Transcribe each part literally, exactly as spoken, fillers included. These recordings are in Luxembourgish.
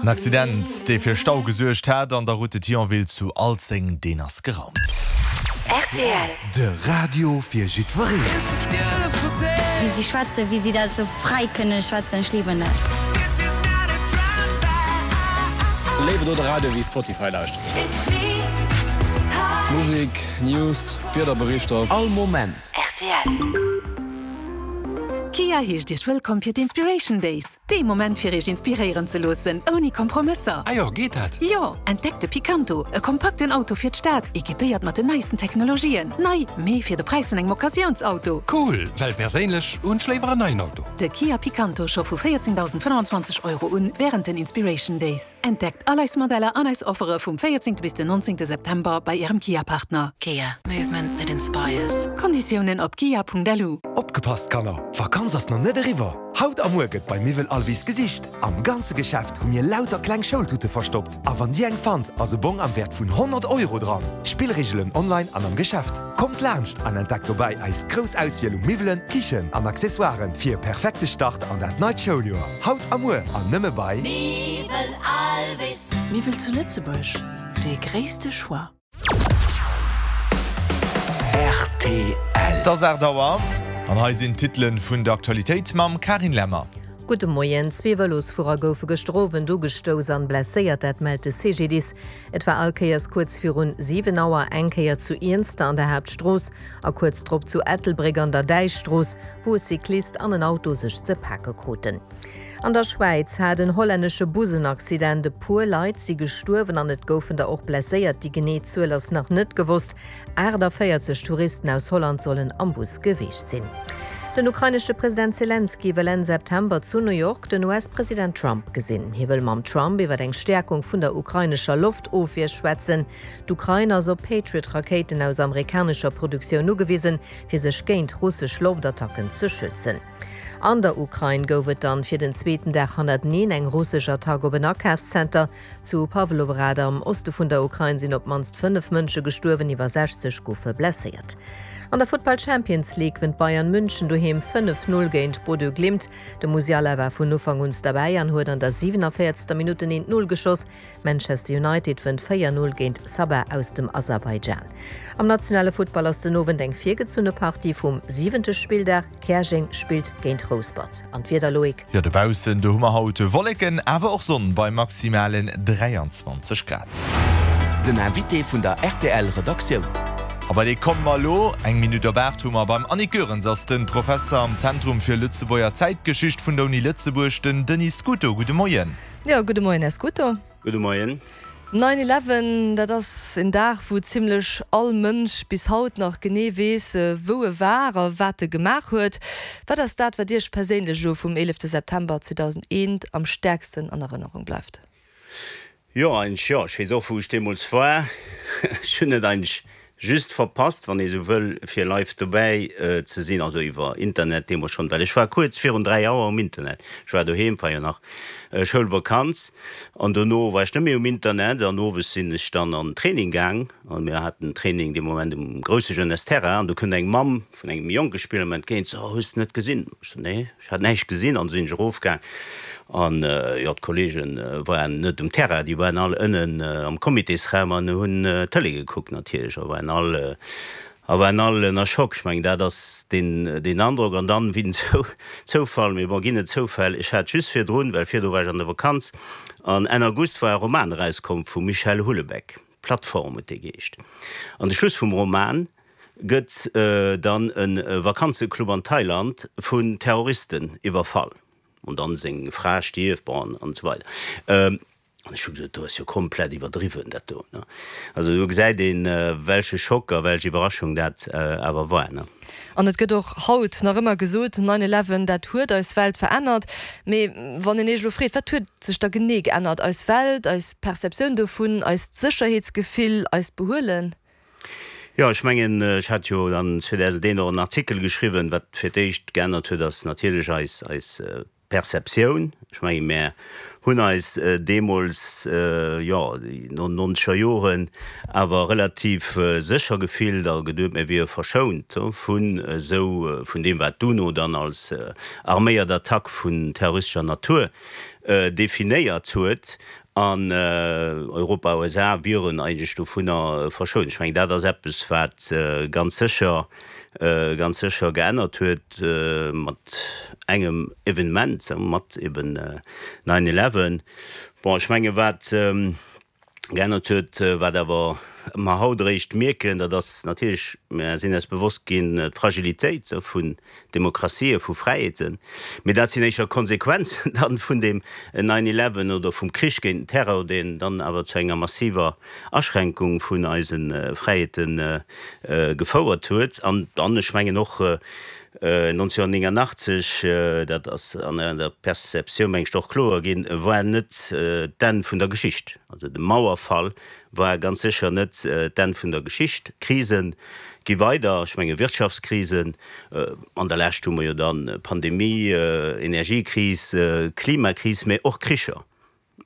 En Accident, dee fir Stau gesuergt hat an der Route de Thionville zu Alzeng, deen ass geraumt. Rtl. De Radio fir jiddwereen. Wéi si schwätzen, wéi si dat sou fräi kënne schwätzen, ech liwen dat. Léiwer do de Radio wéi Spotify lauschteren. Musek, News, Wiederberichter. All Moment. Rtl. Kia heescht Iech wëllkomm fir d'Inspiration Days. Dee Moment fir Iech inspiréieren ze loossen, ouni Kompromësser. Ah jo, geet dat? Jo! Entdeckt de Picanto, e kompakten Auto fir d'Stad, equipéiert mat den neisten Technologien. Nei, mee fir de Präis vun engem Occasiounsauto. Cool, well perséinlech hunn ech léiwer en neien Auto. De Kia Picanto scho vu véierzehndausendfënnwandzwanzeg Euro un wärend den Inspiration Days. Entdeckt all eis Modeller an eis Offere vum véierzéngte bis den nonzéngte September bei Ärem Kia-Partner. Kia, movement that inspires. Konditiounen op kia.lu. Opgepasst Kanner, d'Vakanz ass nach net eriwwer! Haut a muer gëtt bei Miwwel Alvis gesicht. Am ganze Geschäft hu mir lauter kleng Schoultute verstoppt a wann dir eng fannt, ass e Bong am Wäert vun honnert Euro dran. Spillreegelen online an am Geschäft. Kommt laanscht an entdeckt dobäi eis grouss Auswiel u Miwwelen, Kichen an Accessoiren fir e perfekte Start an dat neit Schouljoer. Haut a muer an nëmme bei. Miwwel Alvis. Miwwel zu Lëtzebuerg, dee gréisste Choix. Rtl. Et ass aacht Auer an hei sinn d'Titelen vun der Aktualitéit mam Carine Lemmer. Gudde Moien. Zwee Vëlosfuerer goufe gëschter Owend ugestouss an blesséiert, dat mellt de C G D I S. Et war all Kéiers kuerz virun siwen Auer, eng Kéier zu Iernster an der Haaptstrooss a kuerz drop zu Ettelbréck an der Däichstrooss, wou e Cyclist an en Auto sech ze pake kruten. An der Schwäiz hat en hollännesche Bus en Accident. E puer Leit si gestuerwen an et goufen der och blesséiert. Déi genee Zuel ass nach net gewosst. achtundvéierzeg Touristen aus Holland sollen am Bus gewiescht sinn. Den ukrainesche President Selenskyj wëll Enn September zu New York den U S-President Trump gesinn. Hie wëll mam Trump iwwer eng Stäerkung vun der ukrainescher Loftofwier schwätzen. D'Ukrain ass op Patriot-Rakéiten aus amerikanescher Produktioun ugewisen, fir sech géint russesch Loftattacken ze schützen. An der Ukrain gouf et dann fir den zweeten Dag hannerteneen eng russesch Attack op en Akafszenter. Zu Pawlohrad am Oste vun der Ukrain sinn op d'mannst fënnef Mënsche gestuerwen, iwwer sechzeg goufe blesséiert. An der Futtball Champions League wënnt Bayern München doheem fënnef Null géint Bodø Glimt. De Musiala war vun Ufank un derbäi an huet an der siewenundvéierzegster Minutt den eent Null geschoss. Manchester United wënnt véier Null géint Sabah aus dem Aserbaidschan. Am nationale Futtball ass den Owend eng virgezunne Partie vum siwente Spilldag. Käerjeng spillt géint Rouspert. An d'Wieder, Loïc? Jo, dobaussen, do hu mer haut Wolleken, awer och Sonn bei maximalen dräianzwanzeg Grad. Den Invité vun der R T L Redaktioun. A bei dee komme mer elo. Eng Minutt op aacht hu mer beim Annick Goerens ass de Professer am Zentrum fir Lëtzebuerger Zäitgeschicht vun der Uni Lëtzebuerg, den Denis Scuto. Gudde Moien. Jo, gudde Moien, Här Scuto. Gudde Moien. Nine Eleven, dat ass en Dag, wou zimlech all Mënsch bis haut nach genee weess, wou e war a wat e gemaach huet. Wat ass dat, wat Iech perséinlech elo vum eelefte September zweedausendeen am stäerksten an Erënnerung bleift? Jo, eigentlech jo. Ech weess och, wou ech deemools war. Ech hunn et eigentlech just verpasst, wann ee sou wëll, fir live dobäi ze sinn, also iwwer Internet deemools schonn, well ech war kuerz virun dräi Auer um Internet. Ech war doheem, war jo nach Schoulvakanz, an dono war ech net méi um Internet an owes sinn ech dann an den Training gaang an mir haten Training dee Moment um grousse Jeunesse-Terrain an do kënnt eng Mamm vun engem jonke Spiller mer entgéint, so, hues de net gesinn? Ech so, nee, ech hat näischt gesinn an du sinn ech erofgaang an jo, d'Kolleege waren net um Terrain, déi waren all ënnen am Comitésraum an hunn Tëlee gekuckt natierlech a waren all a waren all ënner Schock. Ech mengen, dat ass deen deen Androck an dann wéi den Zoufall, mee bon, ginn et Zoufäll, ech hat just virdrun, well virdu war ech an der Vakanz, an Enn August war e Roman erauskomm vum Michel Houellebecq, Plateforme huet dee geheescht. An de Schluss vum Roman gëtt dann e Vakanzeclub an Thailand vun Terroristen iwwerfall an dann seng Fra stierft, bon, an esou weider. An ech hu gesot, do ass jo komplett iwwerdriwwen dat do, ne. Also do gesäit een, welche Schock a welch Iwwerraschung dat awer war, ne. An et gëtt och haut nach ëmmer gesot, Nine Eleven, dat huet eis Welt verännert. Mee wann een Iech elo freet, wat huet sech da genee geännert? Eis Welt, eis Perceptioun dovun, eist Sécherheetsgefill, eist Behuelen? Jo, ech mengen, ech hat jo dann zweedausendeen och en Artikel geschriwwen. Wat fir d'éischt geännert huet, ass natierlech eis eis Perceptioun. Ech menge mär hunn eis deemools, jo, déi nonzeger Joren awer relativ sécher gefillt a geduet, mir wiere verschount vun esou, vun deem, wat d'UNO dann als arméiert Attack vun terroristescher Natur definéiert huet. An Europa, U S A wieren eigentlech dovunner verschount. Ech mengen, dat ass eppes, wat ganz sécher, ganz sécher geännert huet mat engem Evenement, mat eben nine eleven. Bon, ech menge wat geännert huet, wat awer mer haut eréischt mierken, dat ass natierlech, mer sinn eis bewosst ginn, d'Fragilitéit vun Demokratien, vu Fräiheeten. Mee dat sinn éischer Konsequenzen dann vun deem nine eleven oder vum Krich géint den Terror, deen dann awer zu enger massiver Aschränkung vun eise Fräiheete gefouert huet. An dann, ech mengen och, nonzénhunnertnéngannachtzeg, dat ass an der Perceptioun, meng ech, och kloer ginn, war net d'Enn vun der Geschicht. Also de Mauerfall war ganz sécher net d'Enn vun der Geschicht. D'Krise gi weider, ech menge Wirtschaftskrisen, an der Lescht hu mer jo dann Pandemie, Energiekris, Klimakris, mä och Kricher.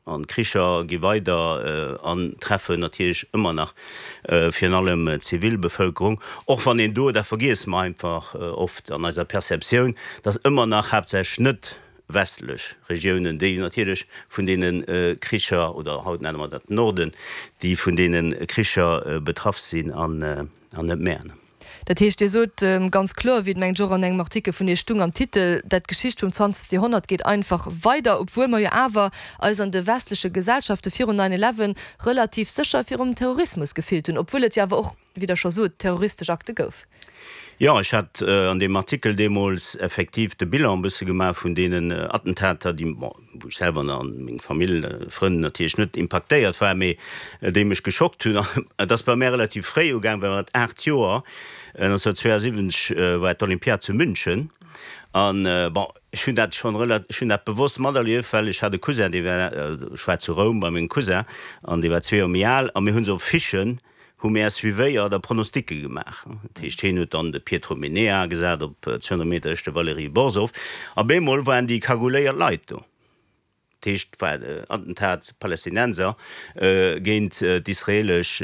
An d'Kricher gi weider an treffen natierlech ëmmer nach virun allem d'Zivilbevëlkerung, och wann een do, dat vergiesse mer einfach oft an eiser Perceptioun, dass ëmmer nach haaptsächlech net westlech Regiounen, déi natierlech vun deene Kricher, oder haut nenne mer dat Norden, déi vun deene Kricher betraff sinn an net mär. Dat heescht, Dir sot ganz kloer, wéi et mengt ech och an engem Artikel vun Iech stung am Titel, dat d'Geschicht vum zwanzegste Joerhonnert geet einfach weider, obwuel mer jo awer eis an de westleche Gesellschafte virun nine eleven relativ sécher virum Terrorismus gefillt hunn, obwuel et jo awer och, wéi Der scho sot, terroristesch Akte gouf. Jo, ech hat an deem Artikel deemools effektiv de Bilan e bësse gemaach vun deenen Attentater, déi, bon, wou ech selwer an meng Famill, Frënn natierlech net impaktéiert war, mee déi mech geschockt hunn. Et ass bei mär relativ fréi ugaang, well mat aacht Joer, nonzénhunnertzwéiasiwwenzeg, war d'Olympiad zu München an, bon, ech hunn dat schonn rela, ech hunn dat bewosst materlieft, well ech hat e Cousin, dee war, ech war zu Roum bei mengem Cousin an dee war zwee Joer méi al a mir hunn esou Affichen, hu mär suivéiert a Pronosticke gemaach. Dat heescht, hien huet dann de Pietro Mennea gesat op zweehonnert Meter, ech de Valerij Borsov. A bemol waren déi kagouléiert Leit do. Dat heescht, et war Attentat Palästinenser géint d'israelesch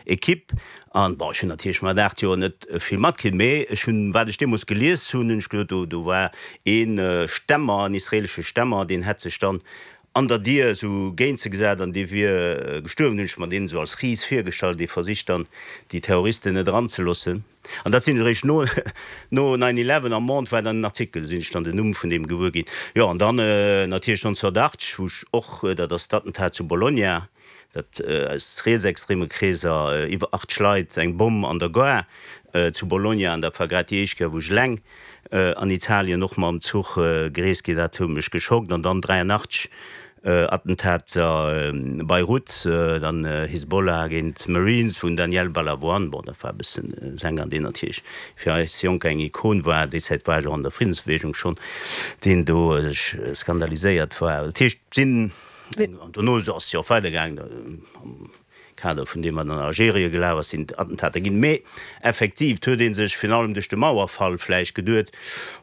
Equipe. An, bon, ech hunn natierlech mat aacht Joer net vill matkritt, mee ech hunn, wat ech deemools gelies hunn, hunn ech gesot, do, do war ee Stämmer, en israelesche Stämmer, deen hätt sech dann an der Dier esou géint se gesat an dee wier gestuerwen, hunn ech mer deen esou als Ris virgestallt, dee versicht dann déi Terroristen net eranzeloossen. An dat sinn ech eréischt no no nine eleven am Monde war dann en Artikel, do sinn ech dann den Numm vun deem gewuer ginn. Jo, an dann natierlech nonzehnhunnertachtzeg, wou ech och, dat ass d'Attentat zu Bologna, dat aus rietsextreme Kreeser, iwwer achtzeg Leit, eng Bomm an der Gare zu Bologna, an dat war grad déi éischt Kéier wou ech eleng an Italien och mam Zuch gereest ginn, dat huet mech geschockt. An dann dräianachtzeg Attentater Beirut, dann Hisbollah géint Marines vun Daniel Balavoine, bon dat war e bëssen e Sänger deen natierlech fir eis Jonker eng Ikon war, déi Zäit war ech och an der Friddensbewegung schonn, deen do sech skandaliséiert war. Dat heescht sinn, an dono ass jo och weidergaangen am Kader vun deem, wat an Algerien gelaf ass, sinn Attentater ginn. Mee effektiv, et huet ee sech virun allem duerch de Mauerfall vläicht geduet,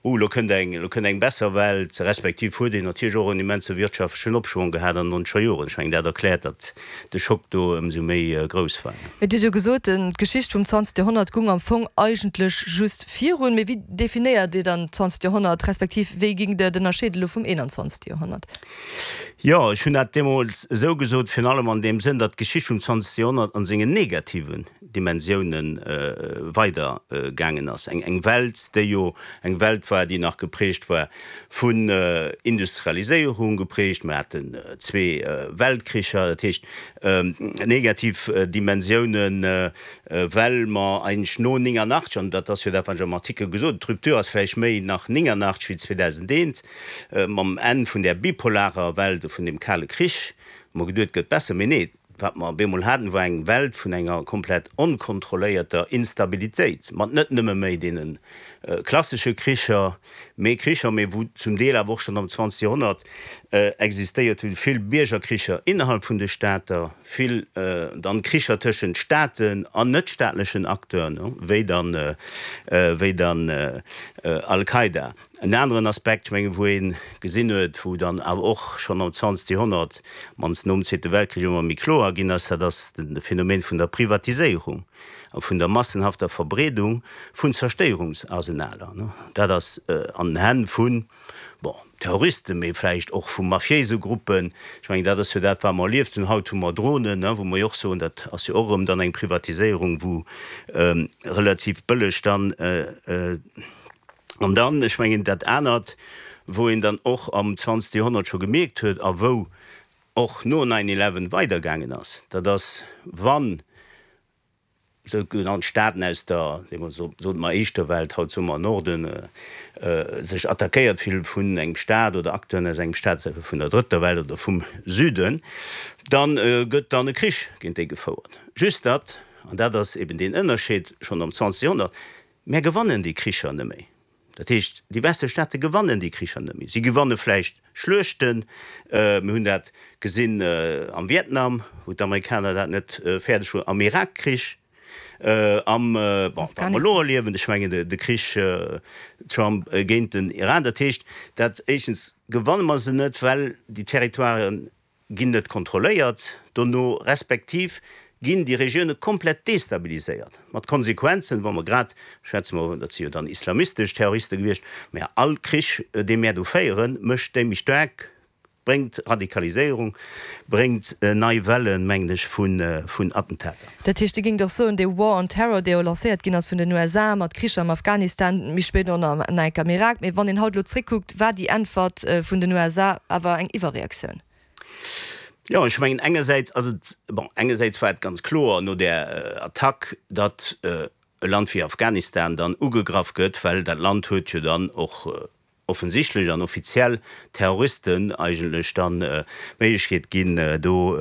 Oh, elo kënnt eng, elo kënnt eng besser Welt. Respektiv huet een natierlech och en immense wirtschaftlechen Opschwong gehat an den nonzeger Joren. Ech mengen, dat erkläert, datt de Schock do ëmsou méi grouss war. Mee Dir hutt jo gesot, d'Geschicht vum zwanzegste Joerhonnert gung am Fong eigentlech just virun. Mee wéi definéiert Dir dann d'zwanzegt Joerhonnert, respektiv wéi géingt Der et ënnerscheeden elo vum eenanzwanzegste Joerhonnert? Jo, ech hunn dat deemools esou gesot, virun allem an deem Sënn, datt d'Geschicht vum zwanzegste Joerhonnert an sengen negativen Dimensiounen weider gaangen ass. Eng eng Welt, déi jo eng Welt war, déi nach geprägt war vun Industrialiséierung, geprägt, mer haten zwee Weltkricher, dat heescht negativ Dimensiounen, well mer eigentlech no néngannachtzeg, an dat ass jo dat, wat ech am Artikel gesot hunn, d'Rupture ass vläicht méi nach néngannachtzeg wéi zweedausendeent, Mam Enn vun där bipolarer Welt, vun dem Kale Krich, hu mer geduet, et gëtt besser. Mee nee, Wat mer op eemol haten, war eng Welt vun enger komplett onkontrolléierter Instabilitéit, mat net nëmme méi deene klassesche Kricher, mee Kricher, mee wou zum Deel awer och schonn am zwanzegste Joerhonnert existéiert hunn, vill Biergerkricher innerhalb vun de Stater, vill dann Kricher tëschent Staaten an net-staatlechen Acteuren, wéi dann, wéi dann Al-Qaida. En aneren Aspekt, ech mengen, wou ee gesinn huet, wou dann awer och schonn am zwanzegste Joerhonnert, mannst nom Zweete Weltkrich, ëmmer méi kloer ginn ass, dat ass de Phänomen vun der Privatiséierung a vun der massenhafter Verbreedung vun Zerstéierungsarsenaler. Dat ass an den Hänn vu, bon, Terroristen, mee vläicht och vu mafiéise Gruppen. Ech mengen, dat ass jo dat, wat mer erlieft hunn. Haut hu mer Dronen, wou mer jo och soen, dat ass jo och erëm dann eng Privatiséierung, wou relativ bëlleg dann, An dann, ech mengen, dat anert, wou een dann och am zwanzegste Joerhonnert scho gemierkt huet a wou och no nine eleven weidergaangen ass, dat ass, wann sougenannt Staaten aus der, deemools sote mer éischter Welt, haut soe mer Norden, sech attackéiert fillen vun engem Staat oder Acteuren aus engem Staat vun der drëtter Welt oder vum Süden, da gëtt dann e Krich géint déi gefouert. Just datt, an dat ass eben deen Ënnerscheed schonn am zwanzegste Joerhonnert, Mär gewannen déi Kricher net méi. Dat heescht, déi westlech Staate gewannen déi Kricher net méi. Si gewanne vläicht Schluechten. Mir hunn dat gesinn am Vietnam, wou d'Amerikaner dat net fäerdeg hunn, am Irak-Krich, am, bon, wat mer elo erliewen, ech mengen de Krich Trump géint den Iran. Dat heescht, dat éischtens gewanne mer se net, well déi Territoiren ginn net kontrolléiert dono, respektiv ginn déi Regioune komplett destabiliséiert, mat Konsequenzen, wa mer grad, schwätze mer, dat si jo dann islamistesch Terroriste gewiescht, mä all Krich, dee mär do féieren, mécht déi méi staark, bréngt Radikaliséierung, bréngt nei Wellen, mengen ech, vun Attentater. Dat heescht, Dir géingt och soen, dee War on Terror, dee jo lancéiert ginn ass vun den U S A mat Kricher am Afghanistan, méi spéit och nach enk am Irak, mä wann een haut elo zréckkuckt, war déi Äntwert vun den U S A awer eng Iwwerreaktioun? Jo, ech mengen engersäits ass et, bon, engersäits war et ganz kloer no där Attack, datt e Land wéi Afghanistan dann ugegraff gëtt, well dat Land huet jo dann och offensichtlech an offiziell Terroristen eigentlech dann d'Méiglechkeet ginn, do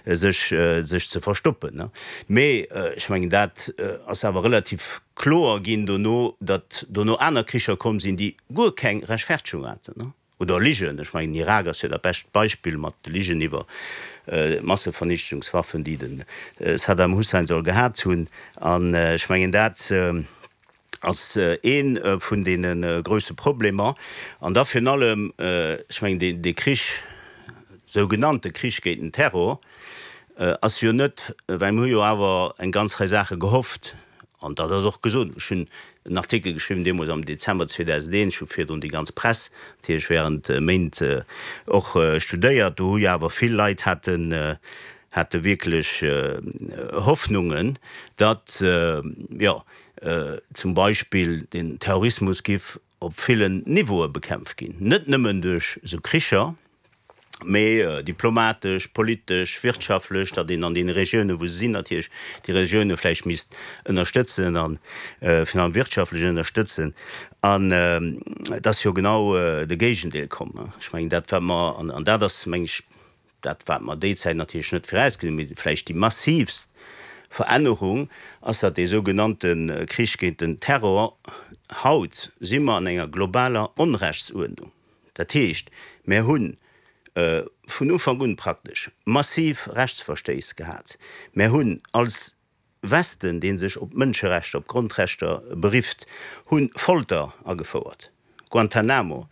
sech sech ze verstoppen. Mee ech mengen, dat ass awer relativ kloer ginn dono, datt dono aner Kricher komm sinn, déi guer keng Rechtfertegung haten. Oder Ligen, ech mengen Irak ass jo dat bescht Beispill mat de Ligen iwwer Massevernichtungswaffen, déi de Saddam Hussein soll gehat hunn. An ech mengen dat ass ee vun deene grousse Problemer. An da virun allem, ech mengen dee Krich, sougenannte Krich géint den Terror, ass jo net, well mir hu jo awer eng ganz Rei Saache gehofft, an dat ass och gesot, ech hunn en Artikel geschriwwen deemools am Dezember zweedausendeent, ech hu virdrun déi ganz Press natierlech während Méint och studéiert, do hu jo awer vill Leit haten, hate wierklech Hoffnungen, datt, jo, zum Beispill den Terrorismus giff op villen Niveaue bekämpft ginn, net nëmmen duerch esou Kricher, mee diplomatesch, politesch, wirtschaftlech, datt een an deene Regiounen, wou se sinn, natierlech déi Regioune vläicht misst ënnerstëtzen a virun allem wirtschaftlech ënnerstëtzen. An et ass jo genau de Géigendeel komm. Ech mengen, dat wat mer, an dat ass, meng ech, dat wat mer déi Zäit natierlech net virausgesinn hunn, mee vläicht déi massiivst Verännerung ass, datt dee sougenannte Krich géint den Terror, haut si mer an enger globaler Onrechtsuerdnung. Dat heescht, mär hunn vun Ufank un praktesch massiv Rechtsverstéiss gehat. Mär hunn als Westen, dee sech op d'Mënscherechter, op d'Grondrechter berifft, hu Folter agefouert, Guantanamo,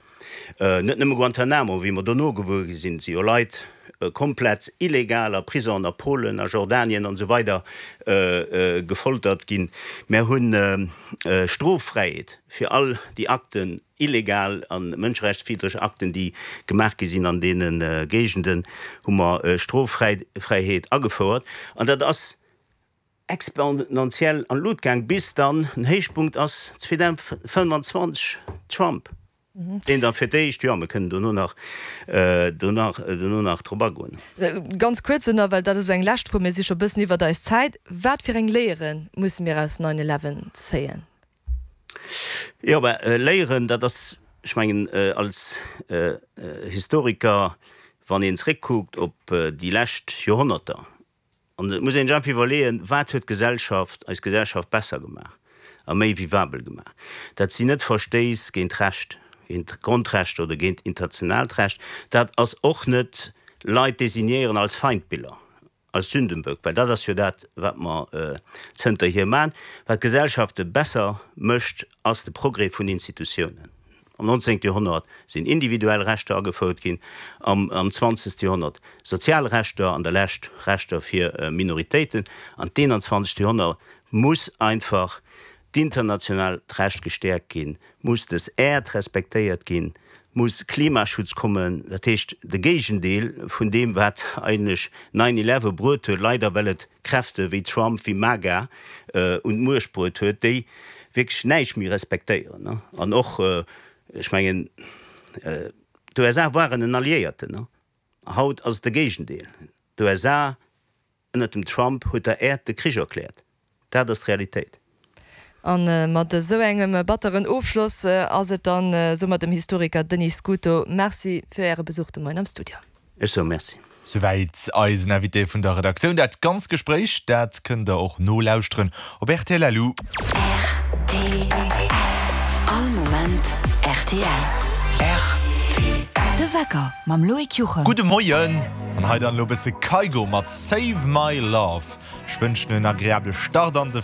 net nëmme Guantanamo, wéi mer dono gewuer gi sinn, si jo Leit komplett illegal a Prisongen a Polen, a Jordanien an esou weider gefoltert ginn. Mär hu Stroffräiheet fir all déi Akten, illegal a mënscherechtswiddreg Akten, déi gemaach gi sinn an deene Géigenden, hu mer Stroffräiheet agefouert. An dat ass exponentiell an d'Lut gaang, bis dann den Héichpunkt ass zweedausendfënnefanzwanzeg, Trump, deen da fir d'éischt, jo, mir kënnen dono nach, dono nach drop agoen. Ganz kuerz nach, well dat ass esou eng lescht Fro, mir si scho e bëssen iwwert eis Zäit, Wat fir eng Léiere musse mir aus nine eleven zéien? Jo, mä Léieren, dat ass, ech mengen, als Historiker, wann een zréckkuckt op déi lescht Joerhonnerter, An et muss een sech einfach iwwerleeën, Wat huet d'Gesellschaft, eis Gesellschaft besser gemaach a méi vivabel gemaach? Dat sinn net Verstéiss géint d'Recht, géint d'Grondrechter oder géint internationaalt Recht. Dat ass och net Leit designéieren als Feindbiller, als Sündenböck, well dat ass jo dat, wat mer zënterhier maachen. Wat Gesellschafte besser mécht, ass de Progrès vun Institutiounen. Am nonzéngte Joerhonnert sinn individuell Rechter agefouert ginn, am zwanzegste Joerhonnert sozial Rechter, an der Lescht Rechter fir Minoritéiten. An d'eenanzwanzegt Joerhonnert muss einfach d'internationaalt Recht gestäerkt ginn, muss des Äerd respektéiert ginn, muss Klimaschutz kommen, dat heescht de Géigendeel vun deem, wat eigentlech nine eleven bruet huet, leider well et Kräfte wéi Trump, wéi MAGA un d'Muecht bruet huet, déi wierklech näischt méi respektéieren. An och, ech mengen, d'USA waren en Alliéierten, haut ass et de Géigendeel. D'USA ënnert dem Trump huet der Äerd de Krich erkläert. Dat ass d'Realitéit. A mat esou engem batteren Ofschloss ass et dann soumat dem Historiker Denis Scuto. Merci fir Äre Besuch de Moien am Studio. Ech soe Merci. Souwäit eisen Invité vun der Redaktioun. Dat ganz Gespréich, dat kënnt der och nolauschteren op rtl. Lu. Rtl, All Moment rtl. Rtl. De Wecker mam Loïc Juchem. Gudde Moien! An hei dann elo bësse Kygo mat Save My Love. Ech wënschen en agreabele Start an de.